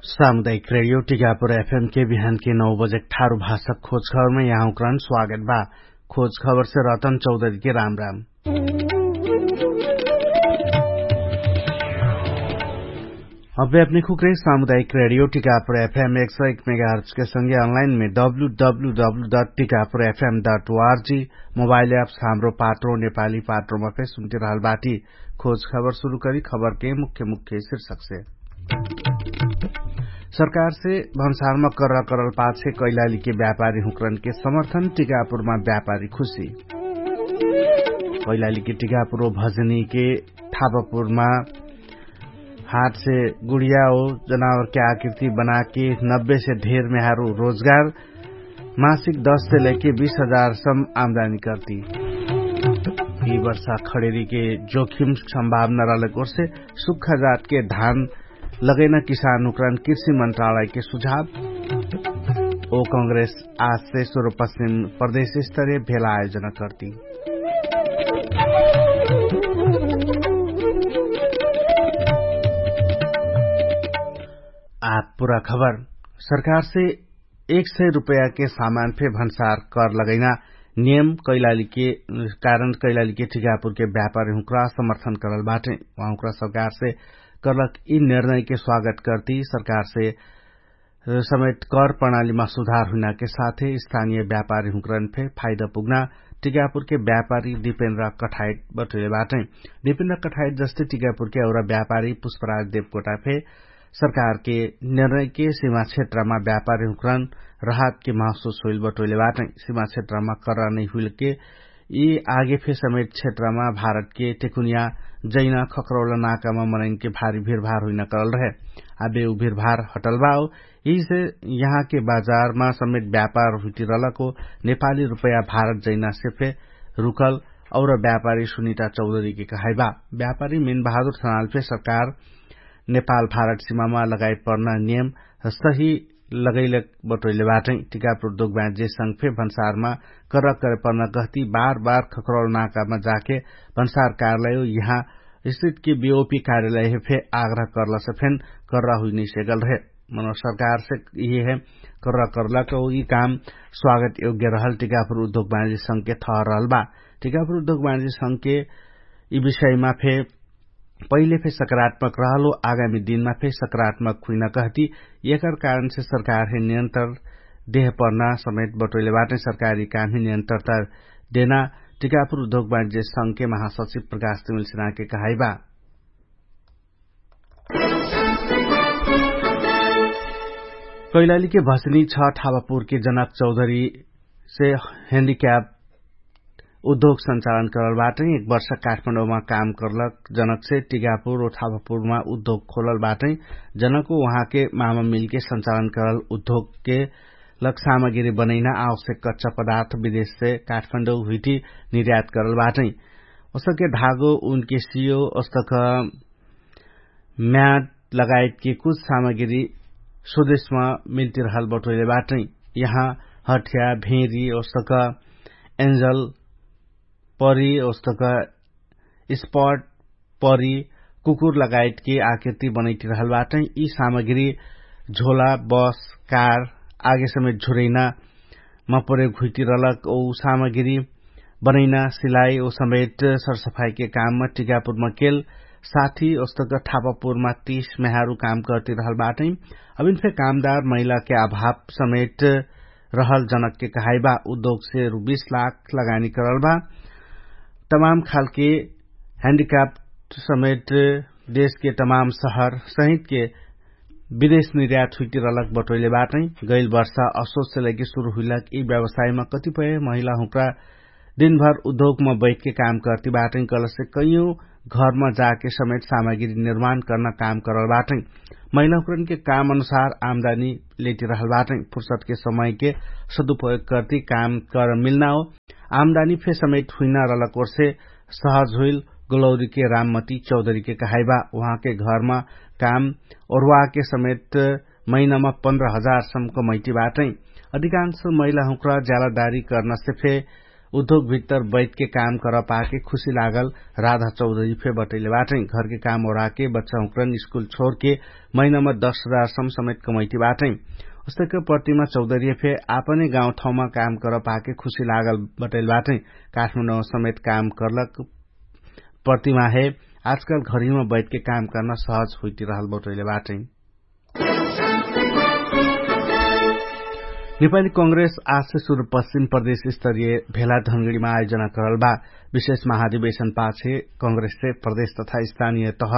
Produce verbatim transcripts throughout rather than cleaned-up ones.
सामुदायिक रेडियो टिकापुर एफएम के बिहान के नौ बजे ठारु भाषक खोज खबरमे यहाँ उक्रान स्वागत बा। खोज खबरसे रतन चौधरी के राम राम। अभ्यापनी खुक्रे सामुदायिक रेडियो टिकापुर एफएम एक सौ एक मेगाहर्च के संगे अनलाइन मे W W W dot Tikapur FM dot ORG mobile apps Hamro Patro नेपाली पात्रोमा फेर सुन्ति रहल बाटी। खोज खबर सुरु करी खबर के मुख्य मुख्य शीर्षक से। सरकार से भन्सारमा कर्रा करल पाछे कैलाली के व्यापारी हुँकरन के समर्थन टिकापुरमा व्यापारी खुशी। कैलाली के टिकापुर भजनी के ठापापुरमा हाट से गुडिया हो जनावर के आकृति बनाके नब्बे से ढेर मेहारु रोजगार मासिक दस से लैके बीस हजार सम आमदानी कर्ती। यि वर्षा खडेरी के जोखिम सम्भावना रहलक ओर्से सुक्खा जात के धान लगैना किसान उक्रान कृषि मन्त्रालय के सुझाव। ओ कांग्रेस आज से सुरु पश्चिम प्रदेश स्तरीय भेला आयोजना कर्ती। आप पुरा खबर। सरकार से एक सय रुपैया के सामान फे भन्सार कर लगैना नियम कैलाली के कारण कैलाली के ठिकापुर के व्यापारी हुँक्रा समर्थन करल बाटे। उहाँ हुँक्रा सरकार से करलक यि निर्णय के स्वागत कर्ती सरकार से समेत कर प्रणालीमा सुधार हुइना के साथे स्थानीय व्यापारी हुँक्रन फे फाइदा पुग्ना टिकापुर के व्यापारी दिपेन्द्र कठाइट बटोइले बाटै। दिपेन्द्र कठाइट जस्ते टिकापुर के औरा व्यापारी पुष्पराज देवकोटा फे सरकार के निर्णय के सिमा क्षेत्रमा व्यापारी हुँक्रन रहत के महसुस होइल बटोइले बाटै। सिमा क्षेत्रमा कर्रा नै हुइल के यि आगे फे समेत क्षेत्रमा भारत के टेकुनिया जैना खक्रौला नाकामा मनैन के भारी भिरभार हुइना करल रहे। आबे उ भिरभार हटल बा। यिसे यहाँ के बाजारमा समेत व्यापार हुइटी रहलको नेपाली रुपैया भारत जैना से फे रुकल और व्यापारी सुनिता चौधरी के कहाइबा। व्यापारी मेन बहादुर थनाल फे सरकार नेपाल भारत सिमामा लगाइ पर्ना नियम सही लगैले बटोइले बाटै। टिकापुर दोगबाँजे संग फे भन्सारमा कर्रा करे पर्ना गहती बार बार खक्रौल नाकामा जाके भन्सार कार्यालय यहाँ स्थित के बिओपी कार्यालय फे आग्रह कर्ला से फेन कर्रा हुइनै सेगल रहे। मनो सरकार से यिहे कर्रा कर्ला कौ यि काम स्वागत योग्य रहल टिकापुर उद्योग बाँजे संग के थह रहल बा। टिकापुर उद्योग बाँजे संग के यि विषयमा फे पहिले फे सकारात्मक रहलो आगामी दिनमा फे सकारात्मक हुइना कहती। एकर कारण से सरकार हे नियन्त्रण देह पर्ना समेत बटोइले बाटै सरकारी काम हे नियन्त्रण तर देना टिकापुर उद्योग बाँजे संग के महासचिव प्रकाश तिमिल सेना के कहाइबा। कैलाली के भसनी छ ठावापुर के जनक चौधरी से हेन्डिक्याप उद्योग सञ्चालन करल बाटै। एक वर्ष काठमाडौमा काम करलक जनक से टिकापुर ओ ठावापुरमा उद्योग खोलल बाटै। जनक ओ उहाँके मामा मिलके सञ्चालन करल उद्योगके लक सामग्री बनैना आवश्यक कच्चा पदार्थ विदेश से काठमाडौ हुइटी निर्यात करल बाटै। ओसके धागो उनके सियो ओस्तक म्याट लगायतके कुछ सामग्री स्वदेशमा मिल्तिरहल बटोइले बाटै। यहाँ हठ्या भेरी ओस्तक एन्जल परी ओस्तक स्पट परी कुकुर लगायतके आकृति बनैतिरहल बाटै। यि सामग्री झोला बस कार आगे समेत झुरैना मा प्रयोग हुइतिरहलक ओ सामग्री बनैना सिलाइ ओ समेत सरसफाइके काममा टिकापुरमा केल साथी ओस्तक ठापापुरमा तीस मेहारु काम कर्तिरहल बाटै। अभिन फे कामदार महिलाके अभाव समेत रहल जनकके कहाइबा। उद्योगसे रु बीस लाख लगानी करल बा। तमाम खालके ह्यान्डिक्राफ्ट समेत देशके तमाम सहर सहितके विदेश निर्यात हुइतिरहलक बटोइले बाटै। गैल वर्षा असोचसे लैके सुरु हुइलक यि व्यवसायमा कतिपय महिला हुँक्रा दिनभर उद्योगमा बैठके काम कर्ति बाटै कलसे कैयौं घरमा जाके समेत सामग्री निर्माण कर्ना काम करल बाटै। महिला हुँक्रनके काम अनुसार आमदानी लेतिरहल बाटै। फुर्सदके समयके सदुपयोग कर्ति काम कर मिल्ना हो आमदानी फे समेत हुइना रहलक ओर्से सहज हुइल गोलौरीके राममती चौधरीके कहाइबा। उहाँके घरमा काम ओर्वाके समेत महिनामा पन्ध्र हजार सम्म कमैटी बाटै। अधिकांश महिला हुँक्रा ज्यालादारी कर्ना से फे उद्योगभित्तर बैठके काम करपाके खुशी लागल राधा चौधरी फे बटैले बाटै। घरके काम ओराके बच्चाहुँक्रन स्कुल छोरके महिनामा दश हजार सम समेत कमैती बाटै। उस्तक प्रतिमा चौधरी फे आपने गाउँठाउँमा काम करपाके खुशी लागल बटैले बाटै। काठमाडौँ समेत काम करलक प्रतिमा हे आजकाल घरिमा बैठके काम कर्ना सहज हुइतिरहल बटैले बाटै। नेपाली कांग्रेस आजसे सुरुपश्चिम प्रदेश स्तरीय भेला धनगडीमा आयोजना करल बा। विशेष महाधिवेशन पाछे कांग्रेससे प्रदेश तथा स्थानीय तह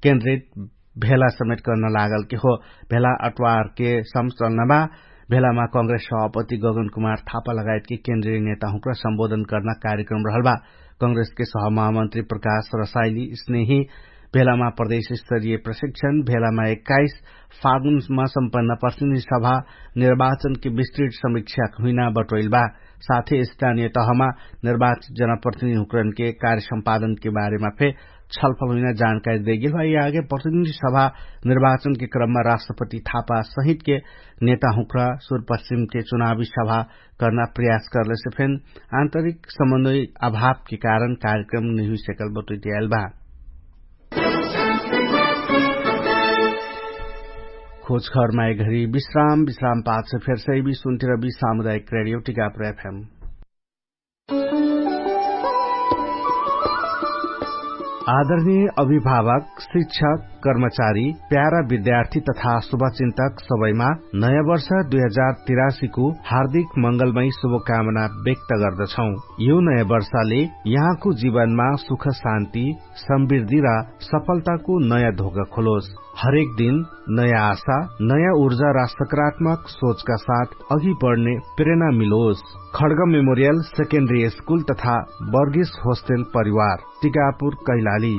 केन्द्रित भेला समेट कर्न लागलके हो। भेला अट्वारके समचलनमा भेलामा कांग्रेस सभापति गगन कुमार थापा लगायतके केन्द्रिय नेताहुँक्र सम्बोधन कर्न कार्यक्रम रहल बा। कांग्रेसके सहमहामन्त्री प्रकाश रसाइली स्नेही भेलामा प्रदेश स्तरीय प्रशिक्षण भेलामा एक्काइस फागुनमा सम्पन्न प्रतिनिधि सभा निर्वाचनके विस्तृत समीक्षा हुइना बटोइल बा। साथै स्थानीय तहमा निर्वाचित जनप्रतिनिधि हुँक्रनके कार्य सम्पादनके बारेमा फे छलफल हुइना जानकारी देगेल बा। यि आगे प्रतिनिधि सभा निर्वाचनके क्रममा राष्ट्रपति थापा सहितके नेता हुँक्रा सुरपश्चिमके चुनावी सभा कर्ना प्रयास कर्लेसे फेन आन्तरिक समन्वय अभावके कारण कार्यक्रम नहिउ सेकल बटोइटियाइल बा। खोजखर माइघरी विश्राम विश्राम पाछ फेरसै बि सुन्तिर बि सामुदायिक रेडियो टिकापुर एफएम। आदरणीय अभिभावक, शिक्षक, कर्मचारी, प्यारा विद्यार्थी तथा शुभचिन्तक सबैमा नयाँ वर्ष दुई हजार तिरासीको हार्दिक मंगलमय शुभकामना व्यक्त गर्दछौँ। यो नयाँ वर्षले यहाँको जीवनमा सुख शान्ति, समृद्धि र सफलताको नयाँ धोका खोलोस। हरेक दिन नयाँ आशा, नयाँ ऊर्जा र सकारात्मक सोचका साथ अघि बढ्ने प्रेरणा मिलोस। खड्ग मेमोरियल सेकेन्डरी स्कुल तथा बर्गेस होस्टेल परिवार, टिकापुर कैलाली।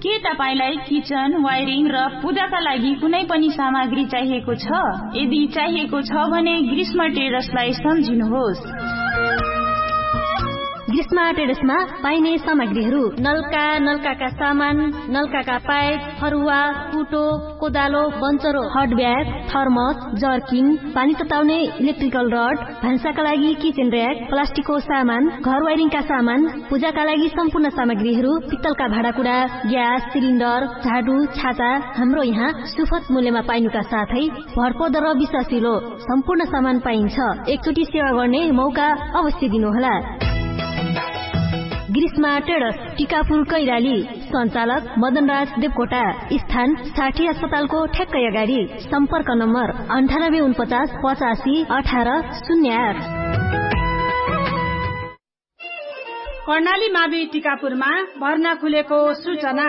के तपाईंलाई किचन वायरिङ र पूजाका लागि कुनै पनि सामग्री चाहिएको छ? यदि चाहिएको छ भने ग्रीष्म टेरसलाई सम्झिनुहोस्। ग्रीष्म टेरसमा पाइने सामग्रीहरू नल्का, नल्काका सामान, नल्काका पाइप, फरुवा, कुटो, कोदालो, बन्चरो, हटब्याग, थर्मस, जर्किन, पानी तताउने इलेक्ट्रिकल रड, भान्साका लागि किचेन र्याक, प्लास्टिकको सामान, घर वाइरिङका सामान, पूजाका लागि सम्पूर्ण सामग्रीहरू, पित्तलका भाँडाकुडा, ग्यास सिलिन्डर, झाडु, छाता, हाम्रो यहाँ सुफत मूल्यमा पाइनुका साथै भरपद र विश्वासिलो सम्पूर्ण सामान पाइन्छ। एकचोटि सेवा गर्ने मौका अवश्य दिनुहोला। ग्रीष्मा टेडस, टिकापुर कैराली। सञ्चालक मदनराज देवकोटा। स्थान साठी अस्पतालको ठ्याक्कै अगाडि। सम्पर्क नम्बर अन्ठानब्बे उनपचास पचासी अठार शून्य आठ। कर्णाली मावि टिकापुरमा भर्ना खुलेको सूचना।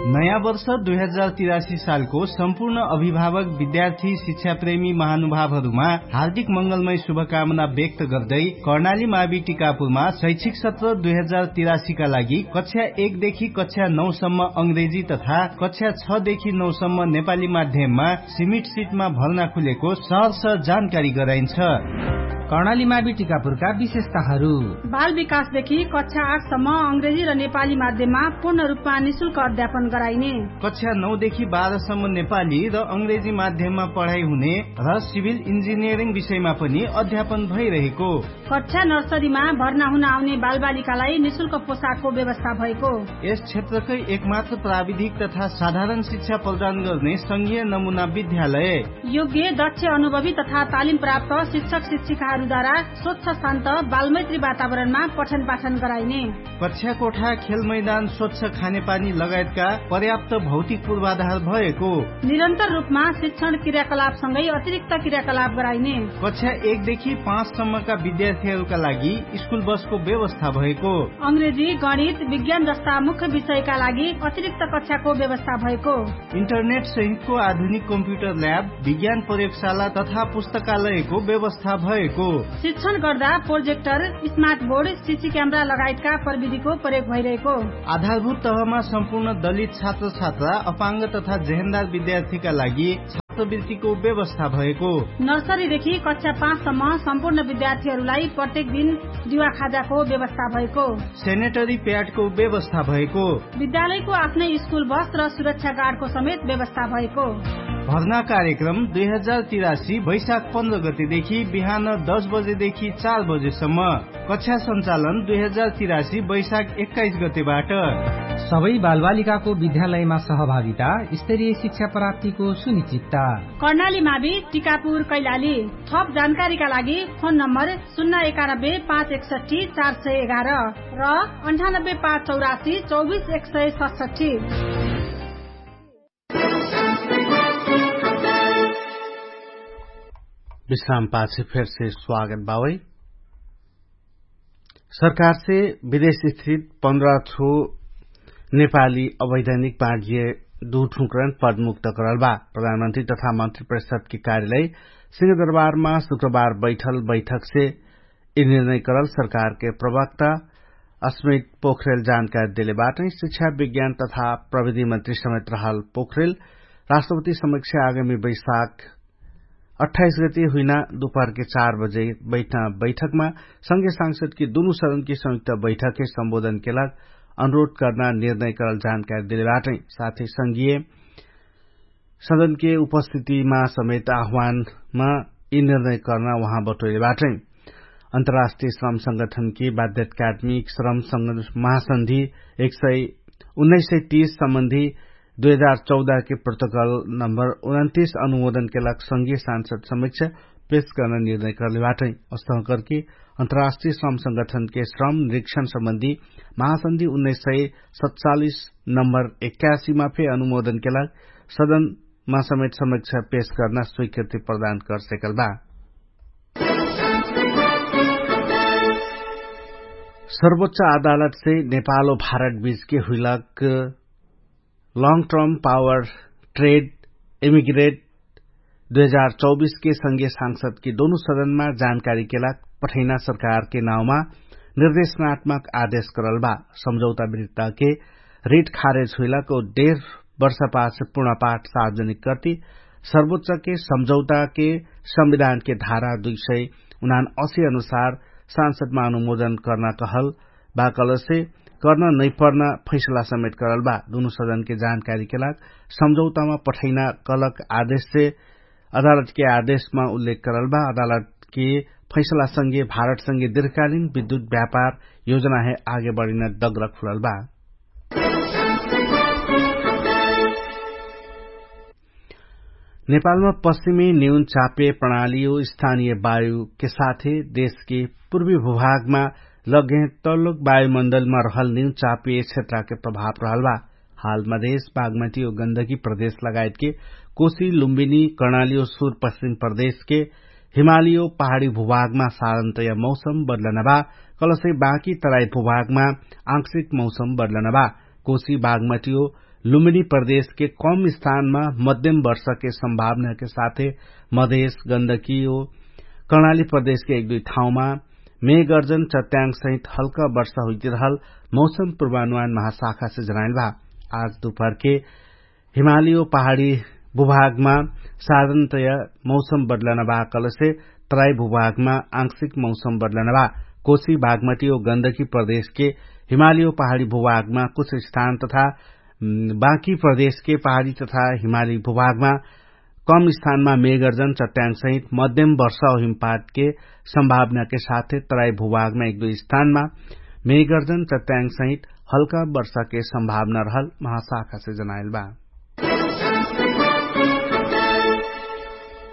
नयाँ वर्ष दुई हजार तिरासी सालको सम्पूर्ण अभिभावक, विद्यार्थी, शिक्षाप्रेमी महानुभावहरूमा हार्दिक मंगलमय शुभकामना व्यक्त गर्दै कर्णाली मावि टिकापुरमा शैक्षिक सत्र दुई हजार तिरासीका लागि कक्षा एकदेखि कक्षा नौसम्म अंग्रेजी तथा कक्षा छदेखि नौसम्म नेपाली माध्यममा सीमित सिटमा भर्ना खुलेको सहर्ष जानकारी गराइन्छ। कर्णाली मावि टिकापुरका विशेषताहरू। बाल विकासदेखि कक्षा आठसम्म अंग्रेजी र नेपाली माध्यममा पूर्ण रूपमा निशुल्क अध्यापन गराइने। कक्षा नौदेखि बाह्रसम्म नेपाली र अंग्रेजी माध्यममा पढाइ हुने र सिभिल इन्जिनियरिङ विषयमा पनि अध्यापन भइरहेको। कक्षा नर्सरीमा भर्ना हुन आउने बालबालिकालाई निशुल्क पोसाकको व्यवस्था भएको। यस क्षेत्रकै एकमात्र प्राविधिक तथा साधारण शिक्षा प्रदान गर्ने संघीय नमुना विद्यालय। योग्य, दक्ष, अनुभवी तथा तालिम प्राप्त शिक्षक शिक्षिकाहरूद्वारा स्वच्छ, शान्त, बालमैत्री वातावरणमा पठन पाठन गराइने। कक्षा कोठा, खेल मैदान, स्वच्छ खानेपानी लगायतका पर्याप्त भौतिक पूर्वाधार भएको। निरन्तर रूपमा शिक्षण क्रियाकलापसँगै अतिरिक्त क्रियाकलाप गराइने। कक्षा एकदेखि पाँचसम्मका विद्यार्थीहरूका लागि स्कुल बसको व्यवस्था भएको। अंग्रेजी, गणित, विज्ञान जस्ता मुख्य विषयका लागि अतिरिक्त कक्षाको व्यवस्था भएको। इन्टरनेट सहितको आधुनिक कम्प्युटर ल्याब, विज्ञान प्रयोगशाला तथा पुस्तकालयको व्यवस्था भएको। शिक्षण गर्दा projector, smart board, CC camera लगायतका प्रविधिको प्रयोग भइरहेको। आधारभूत तहमा सम्पूर्ण दलित छात्र छात्रा, अपाङ्ग तथा जेहेन्दार विद्यार्थीका लागि वृत्तिको व्यवस्था भएको। नर्सरीदेखि कक्षा पाँचसम्म सम्पूर्ण विद्यार्थीहरूलाई प्रत्येक दिन दिवा खाजाको व्यवस्था भएको। सेनेटरी प्याडको व्यवस्था भएको। विद्यालयको आफ्नै स्कुल बस र सुरक्षा गार्डको समेत व्यवस्था भएको। भर्ना कार्यक्रम दुई हजार तिरासी वैशाख पन्ध्र गतेदेखि बिहान दस बजेदेखि चार बजेसम्म। कक्षा सञ्चालन दुई हजार तिरासी वैशाख एक्काइस गतेबाट। सबै बालबालिकाको विद्यालयमा सहभागिता, स्तरीय शिक्षा प्राप्तिको सुनिश्चितता। कर्णाली मावि, टिकापुर, कैलाली। थप जानकारीका लागि फोन नम्बर शून्य एकानब्बे पाँच एकसट्ठी चार सय एघार र अन्ठानब्बे पाँच चौरासी चौबिस एक सय सतसट्ठी। विश्राम पाछे फेरसे स्वागत बावै। सरकारसे विदेश स्थित पन्ध्र ठो नेपाली अवैधानिक बाँडिए दुठुक्रन पदमुक्त करल बा। प्रधानमन्त्री तथा मन्त्री परिषदके कार्यालय सिंहदरबारमा शुक्रबार बैठल बैठकसे यि निर्णय करल सरकारके प्रवक्ता अस्मित पोखरेल जानकारी देले बाटै। शिक्षा विज्ञान तथा प्रविधि मन्त्री समेत रहल पोखरेल राष्ट्रपति समक्ष आगामी बैशाख अट्ठाइस गते हुइना दुपहरके चार बजे बैठना बैठकमा संघीय सांसदके दुनु सदनके संयुक्त बैठकके सम्बोधनके लाग अनुरोध कर्ना निर्णय करल जानकारी देले बाटै। साथै संघीय सदनके उपस्थितिमा समेत आह्वानमा यि निर्णय कर्ना उहाँ बटोइले बाटै। अन्तर्राष्ट्रिय श्रम संगठनके बाध्यत्कात्मिक श्रम महासन्धि एक सय उन्नाइस सय तीस सम्बन्धी दुई हजार चौधके प्रोटोकल नम्बर उन्तिस अनुमोदनके लाग संघीय सांसद समीक्षा पेश कर्ना निर्णय कर्ले बाटै। अस्तहकरके अन्तर्राष्ट्रिय श्रम संगठनके श्रम निरीक्षण सम्बन्धी महासन्धि उन्नाइस सय सतचालिस नम्बर एक्कासीमा फे अनुमोदनके लाग सदनमा समेत समीक्षा पेश कर्ना स्वीकृति प्रदान करसेकल बा। सर्वोच्च अदालतसे नेपालो भारत बीचके हुइलक long term power trade immigrate दुई हजार चौबिसके संघीय सांसदके दोनो सदनमा जानकारीके लाग पठैना सरकारके नाउँमा निर्देशनात्मक आदेश करल बा। सम्झौता विरुद्धके रिट खारेज हुइलक डेढ वर्षपाछ पूर्णपाठ सार्वजनिक कर्ति सर्वोच्चके सम्झौताके संविधानके धारा दुई सय उनान असी अनुसार सांसदमा अनुमोदन कर्ना कहल बा कलसे कर्न नैपर्ना फैसला समेत करल बा। दुनु सदनके जानकारीके लाग सम्झौतामा पठैना कलक आदेशसे अदालतके आदेशमा उल्लेख करल बा। अदालतके फैसलासँगे भारतसँगे दीर्घकालीन विद्युत व्यापार योजनाहे आगे बढिन दग्र खुलल बा। नेपालमा पश्चिमी न्यून चापे प्रणालीयो स्थानीय वायुके साथे देशके पूर्वी भूभागमा लग्गे तल्लोक वायुमण्डलमा रहल न्यून चापे क्षेत्रके प्रभाव रहल बा। हाल मधेश बागमटी ओ गन्दगी प्रदेश लगायतके कोशी लुम्बिनी कर्णाली ओ सुर पश्चिम प्रदेशके हिमाली ओ पहाडी भूभागमा साधनतया मौसम बदलनबा। कलसै बाँकी तराई भूभागमा आंशिक मौसम बदलनबा। कोशी बागमटी ओ लुम्बिनी प्रदेशके कम स्थानमा मध्यम वर्षके सम्भावनाके साथे मधेश गन्दगी ओ कर्णाली प्रदेशके एक दुई ठाउँमा मेघ गर्जन चट्याङ सहित हल्का वर्षा हुइतिरहल मौसम पूर्वानुमान महाशाखासे जनाइल बा। आज दुपहरके हिमाली ओ पहाडी भूभागमा साधनतया मौसम बदलनबा कलसे तराई भूभागमा आंशिक मौसम बदलनबा। कोशी बागमटी ओ गन्दगी प्रदेशके हिमाली ओ पहाडी भूभागमा कुछ स्थान तथा बाँकी प्रदेशके पहाडी तथा हिमाली भूभागमा कम स्थानमा मेघ गर्जन चट्याङ सहित मध्यम वर्षा ओ हिमपातके सम्भावनाके साथे तराई भूभागमा एक दुई स्थानमा मेघ गर्जन चट्याङ सहित हल्का वर्षाके सम्भावना रहल महाशाखासे जनाइल बा।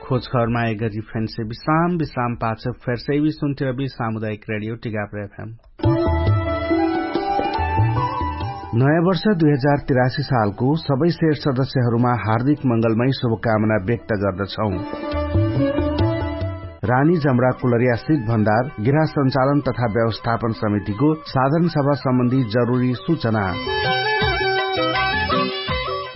खोजखबरमा एगरी फेन्से विश्राम विश्राम पाछ फेर्से वि सुन्थिरबि सामुदायिक रेडियो टिकाप्र एफएम। नयाँ वर्ष दुई हजार तिरासी सालको सबै शेर सदस्यहरूमा हार्दिक मंगलमय शुभकामना व्यक्त गर्दछौं। रानी जमरा कुलरिया सित भण्डार गृह सञ्चालन तथा व्यवस्थापन समितिको साधारण सभा सम्बन्धी जरुरी सूचना।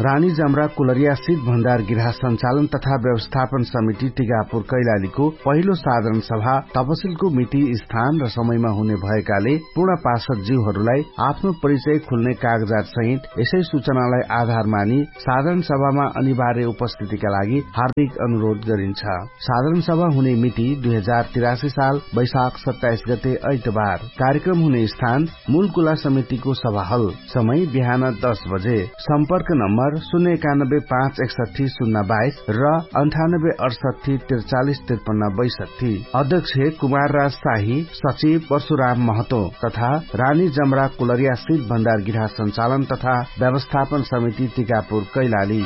रानी जमरा कुलरिया सित भण्डार गिरहा सञ्चालन तथा व्यवस्थापन समिति टिकापुर कैलालीको पहिलो साधारण सभा तपसिलको मिति स्थान र समयमा हुने भएकाले पूर्ण पार्षद ज्यूहरूलाई आफ्नो परिचय खुल्ने कागजात सहित यसै सूचनालाई आधार मानि साधारण सभामा अनिवार्य उपस्थितिका लागि हार्दिक अनुरोध गरिन्छ। साधारण सभा हुने मिति दुई हजार तिरासी साल वैशाख सत्ताइस गते ऐतबार। कार्यक्रम हुने स्थान मूलकुला समितिको सभाहल। समय बिहान दस बजे। सम्पर्क नम्बर शून्य एकानब्बे पाँच एकसट्ठी शून्य बाइस र अन्ठानब्बे अठसट्ठी त्रिचालिस त्रिपन्न बैसट्ठी। अध्यक्ष कुमार राज शाही, सचिव परशुराम महतो तथा रानी जमरा कुलरिया सित भण्डार गिरहा सञ्चालन तथा व्यवस्थापन समिति टिकापुर कैलाली।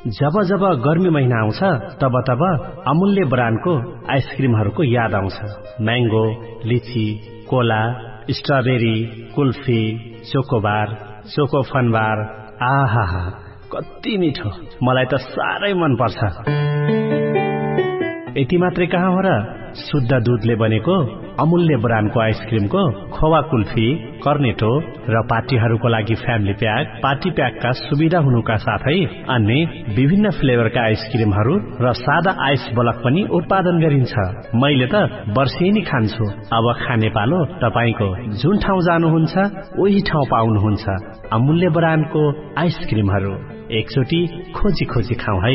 जब जब गर्मी महिना आउँछ, तब तब अमूल्य ब्रान्डको आइसक्रिमहरूको याद आउँछ। म्याङ्गो, लिची, कोला, स्ट्रबेरी, कुल्फी, चोकोबार, चोकोफनबार, आहाहा, कति मिठो। मलाई त साह्रै मन पर्छ। यति मात्रै कहाँ हो र, शुद्ध दुधले बनेको अमूल्य ब्रान्डको आइसक्रिमको खोवा कुल्फी, कर्नेटो र पार्टीहरूको लागि फ्यामिली प्याक, पार्टी प्याकका सुविधा हुनुका साथै अन्य विभिन्न फ्लेभरका आइसक्रिमहरू र सादा आइस बलक पनि उत्पादन गरिन्छ। मैले त वर्षेनी खान्छु। अब खाने पालो। तपाईंको जुन ठाउँ जानुहुन्छ, उही ठाउँ पाउनुहुन्छ अमूल्य ब्रान्डको आइसक्रिमहरू। एकचोटि खोजी खोजी खाउँ है।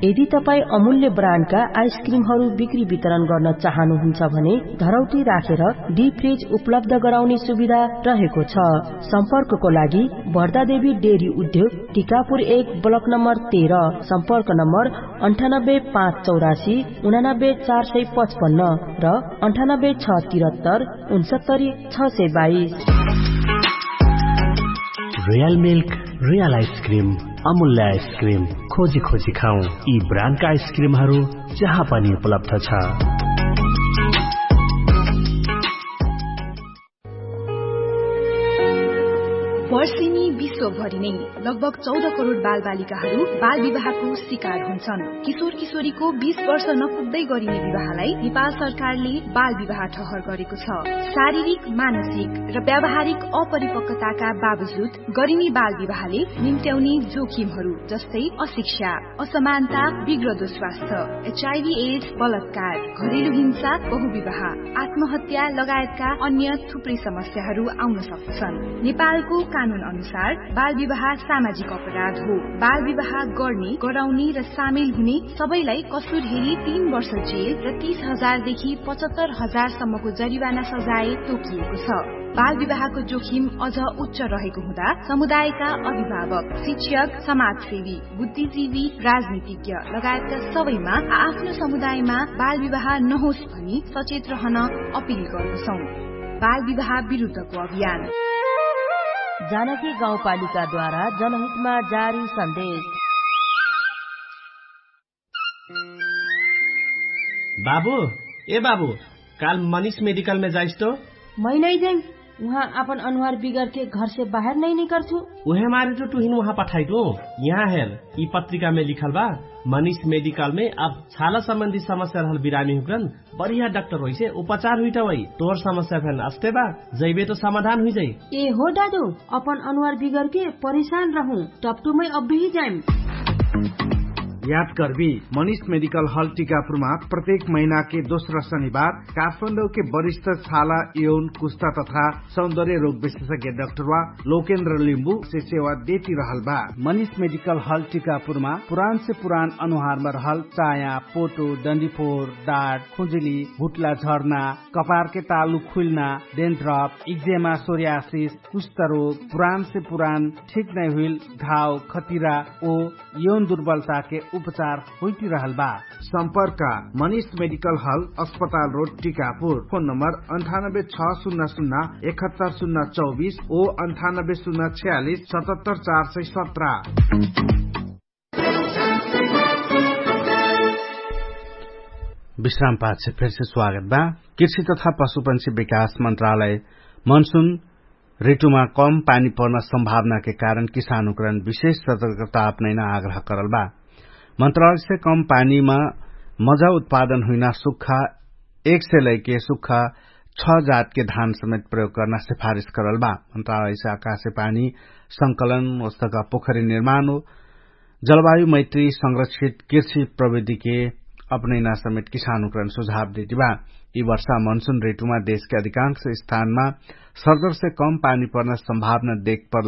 यदि तपाईं अमूल्य ब्रान्डका आइसक्रिमहरू बिक्री वितरण गर्न चाहनुहुन्छ भने धरौटी राखेर डिप फ्रिज उपलब्ध गराउने सुविधा रहेको छ। सम्पर्कको लागि भर्दादेवी डेरी उद्योग टिकापुर एक ब्लक नम्बर तेह्र। सम्पर्क नम्बर अन्ठानब्बे पाँच चौरासी उनानब्बे चार सय पचपन्न र अन्ठानब्बे छ तिरत्तर उनसत्तरी छ सय बाइस। रियल मिल्क, रियल आइसक्रिम, अमूल्य आइसक्रिम। खोजी खोजी खाउँ यी ब्रान्डका आइसक्रिमहरू जहाँ पनि उपलब्ध छ। वर्षेनी विश्वभरि नै लगभग चौध करोड बालबालिकाहरू बाल विवाहको शिकार हुन्छन्। किशोर किशोरीको बीस वर्ष नपुग्दै गरिने विवाहलाई नेपाल सरकारले बाल विवाह ठहर गरेको छ। शारीरिक, मानसिक र व्यावहारिक अपरिपक्वताका बावजुद गरिने बाल विवाहले निम्त्याउने जोखिमहरू जस्तै अशिक्षा, असमानता, बिग्रदो स्वास्थ्य, एचआइभी एड्स, बलात्कार, घरेलु हिंसा, बहुविवाह, आत्महत्या लगायतका अन्य थुप्रै समस्याहरू आउन सक्दछन्। नेपालको कानुन अनुसार बाल विवाह सामाजिक अपराध हो। बाल विवाह गर्ने, गराउने र सामेल हुने सबैलाई कसुर हेरी तीन वर्ष जेल र तीस हजार देखि पचहत्तर हजार सम्मको जरिवाना सजाय तोकिएको छ। बाल विवाहको जोखिम अझ उच्च रहेको हुँदा समुदायका अभिभावक, शिक्षक, समाजसेवी, बुद्धिजीवी, राजनीतिज्ञ लगायतका सबैमा आआफ्नो समुदायमा बाल विवाह नहोस् भनी सचेत रहन अपिल गर्दछौं। बाल विवाह विरुद्धको अभियान। जानकी गाउँपालिकाद्वारा जनहितमा जारी सन्देश। बाबु, ए बाबु, काल मनिष मेडिकलमे जाइस तो? मै नै जाइम। उहाँ आपन अनुहार बिगरके घरसे बाहेर नै निकर्छु। उहे मारे तो तुहिन उहाँ पठाइटु। यहाँ हेर, यि पत्रिकामे लिखल बा, मनिष मेडिकलमे अब छाला सम्बन्धी समस्या रहल बिरामी हुक्रन बढिया डाक्टर होइसे उपचार हुइटा वइ। तोहर समस्या फेन अस्ते बा, जैबे तो समाधान हुइजाइ। ए हो दादु, अपन अनुहार बिगरके परिशान रहु, टपटुमै अब्बी जाइम। याद करबी, मनिष मेडिकल हल टिकापुरमा प्रत्येक महिनाके दोस्रा शनिबार काठमाडौके वरिष्ठ छाला, यौन, कुस्ता तथा सौन्दर्य रोग विशेषज्ञ डाक्टरवा लोकेन्द्र लिम्बु से सेवा देती रहल बा। मनिष मेडिकल हल टिकापुरमा पुरान से पुरान अनुहारमा रहल चाया, पोटो, डन्डीफोर, डाट, खुजुली, घुटला झर्ना, कपारके तालु खुइल्ना, डेन्ड्रप, इक्जेमा, सोरियासिस, कुष्ठरोग, पुरान से पुरान ठीक नै हुइल घाव, खतिरा ओ यौन दुर्बलताके उपचार होइती रहल बा। सम्पर्क मनिष मेडिकल हल, अस्पताल रोड, टिकापुर। फोन नम्बर अन्ठानब्बे छ शून्य शून्य एकहत्तर शून्य चौबिस ओ अन्ठानब्बे शून्य छयालिस सतहत्तर चार सय सत्र। विश्राम पाछ फेरसे स्वागत बा। कृषि तथा पशुपंक्षी विकास मन्त्रालय मनसुन ऋतुमा कम पानी पर्न सम्भावनाके कारण किसानुकरण विशेष सतर्कता अपनैना आग्रह करल बा। मन्त्रालयसे कम पानीमा मजा उत्पादन हुइना सुक्खा एक से लैके सुक्खा छ जातके धान समेत प्रयोग कर्ना सिफारिस करल बा। मन्त्रालयसे आकाशे पानी संकलन वस्तका पोखरी निर्माण हो जलवायु मैत्री संरक्षित कृषि प्रविधिके अपनैना समेत किसानुकरण सुझाव देति बा। यि वर्षा मनसुन ऋतुमा देशके अधिकांश स्थानमा सर्जरसे कम पानी पर्ना सम्भावना देख पर्ला।